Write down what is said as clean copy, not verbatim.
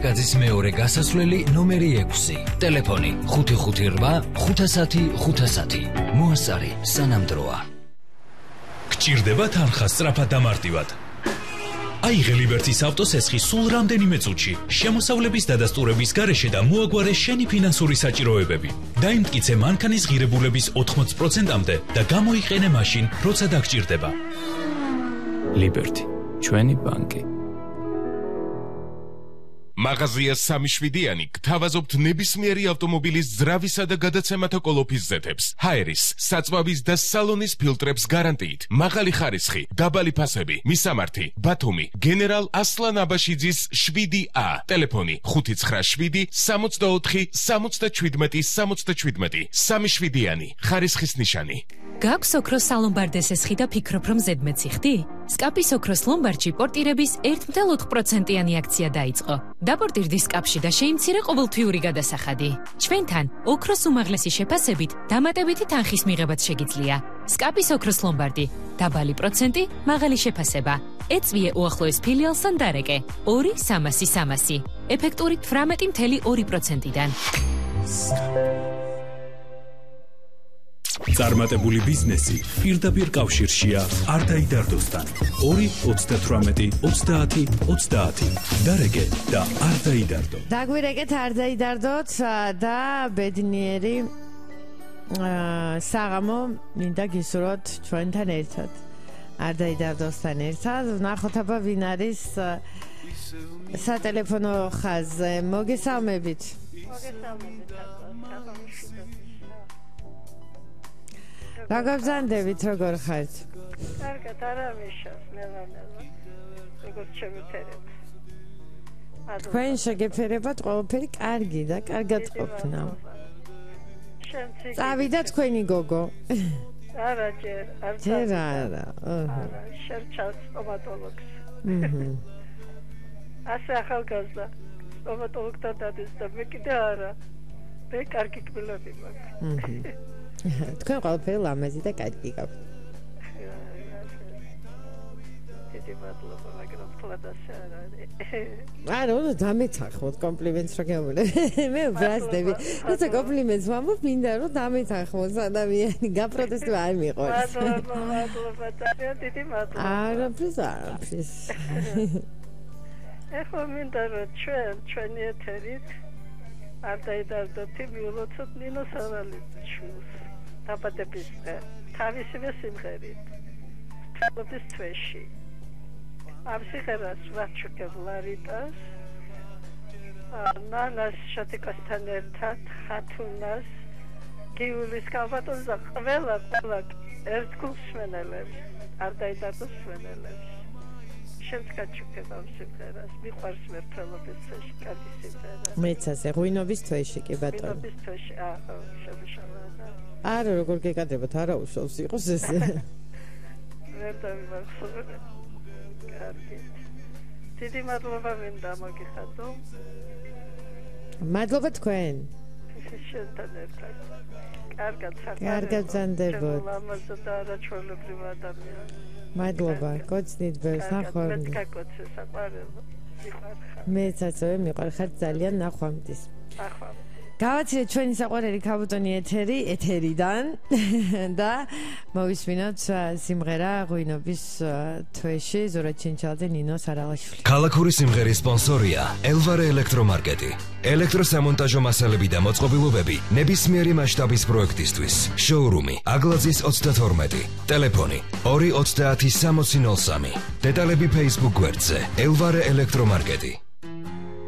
კაცის მეორე გასასვლელი ნომერი 6. ტელეფონი 558 510 510. მოასწარი სანამ დროა. გჭირდება თანხა სწრაფად დამარტივად. აიღე ლიბერტის ავტოსესხი სულ რამდენიმე წუთში, შემოსავლების დადასტურების გარეშე და მოაგვარე შენი ფინანსური საჭიროებები. დაიმტკიცე მანქანის ღირებულების 80%-მდე და გამოიყენე მაშინ, როცა დაგჭირდება. ლიბერტი, ჩვენი ბანკი. მაღაზია 3-7-იანი გთავაზობთ ნებისმიერი ავტომობილის ძრავისა და გადაცემათა კოლოფის ზეთებს, ჰაერის, საწვავის და სალონის ფილტრებს გარანტიით, მაღალი ხარისხი, დაბალი ფასები, მისამართი, ბათუმი, გენერალ ასლან აბაშიძის 7A, ტელეფონი 597 64 77 77, 3-7-იანი, ხარისხის ნიშანი. გაქვს ოქროს სალომბარდე სესხი და ფიქრობ, რომ ზედმეტი ხდი? სკაპის ოქროს ლომბარდში პორტირების 1.4%-იანი აქცია დაიწყო. დაპორტირდი სკაპში და შეიმცირე ყოველთვიური გადასახადი. ჩვენთან ოქროს უმაღლესი შეფასებით დამატებითი თანხის მიღებაც შეგიძლია. სკაპის ოქროს ლომბარდი, დაბალი პროცენტი, მაღალი შეფასება. ეწვიე უახლოეს ფილიალსთან დარეკე 2-300-300, ეფექტური 18.2%-დან. წარმატებული ბიზნესი პირდაპირ კავშირშია არ დაიდარდოსთან. 2-38-30-30. დარეკე და არ დაიდარდო. დაგვირეკეთ არ დაიდარდოთ და ბედნიერი საღამო მინდა გისურვოთ ჩვენთან ერთად. არ დაიდარდოსთან ერთად. ვნახოთ აბა ვინ არის სატელეფონო ხაზზე. მოგესალმებით. რა გაბრძანდებით, როგორ ხართ? კარგად, არავიშას, ნელა-ნელა. როგორც შემიფერება. თქვენ შეგეფერებათ ყველაფერი კარგი და კარგად ყოფნა. წავიდა თქვენი გოგო. არა, ჯერ, არ წავიდა. არა. შერჩა სტომატოლოგს. ასე ახალგაზრდა სტომატოლოგთან დადეს და მე კიდე არა. მე კარგი კბილები მაქვს. თქვენ ყველაფერი ლამაზი და კარგი გაქვთ. დიდი მადლობა, მაგრამ თლად ასე არ არის. არა, უნდა დამეთანხმოთ კომპლიმენტს რა გეუბნები. მე ბრაზდები. როცა კომპლიმენტს ვამბობ, მინდა რომ დამეთანხმოს ადამიანი, გაპროტესტება არ მიყვარს. მადლობა, დიდი მადლობა. არაფრის. ეხლა მინდა რომ ჩვენი ეთერით არ დაიდარდოთ, მიულოცოთ ნინო სავალიჩვილს. დაბადების თავისივე სიმღერით თვალობის თვეში ამ სიმღერას ვაჩუქებ ლარიტას ნანას შატიკასთან ერთად ხათუნას გიულის კალბატონს და ყველა ერთგულს მენელებს არ დაიდარდოს მენელებს შენც გაჩუქებ ამ სიმღერას მიყვარს მე თვალობის თვეში კარგი სიმღერა მეც ასე ღვინობის თვეში კი ბატონო ღვინობის თვეში შემიშალა არა როგორ გეკადრებათ არა უშავს იყოს ეს ვერ დავიმახსოვრე კარგი დიდი მადლობა მინდა მოგიხადო მადლობა თქვენ შენთან ერთად კარგად ბრძანდებოდ ლამაზი და არაჩვეულებრივი ადამიანი მადლობა გოცნით ბევრს ნახვამდის მე გაკოცე საყვარელო მეცაც მიყვარხარ ძალიან ნახვამდის გავაცილეთ ჩვენი საყვარელი ქაბუტონი ეთერიდან და მოვისმინოთ სიმღერა ღვინობის თვეში ზურაბ ჩინჩალაძე ნინო სარალაშვილი. ქალაქური სიმღერის სპონსორია ელვარე ელექტრომარკეტი. ელექტროსამონტაჟო მასალები და მოწყობილობები ნებისმიერი მასშტაბის პროექტისთვის. შოურუმი აგლაძის 32. ტელეფონი 230 6003. დეტალები Facebook გვერდზე ელვარე ელექტრომარკეტი.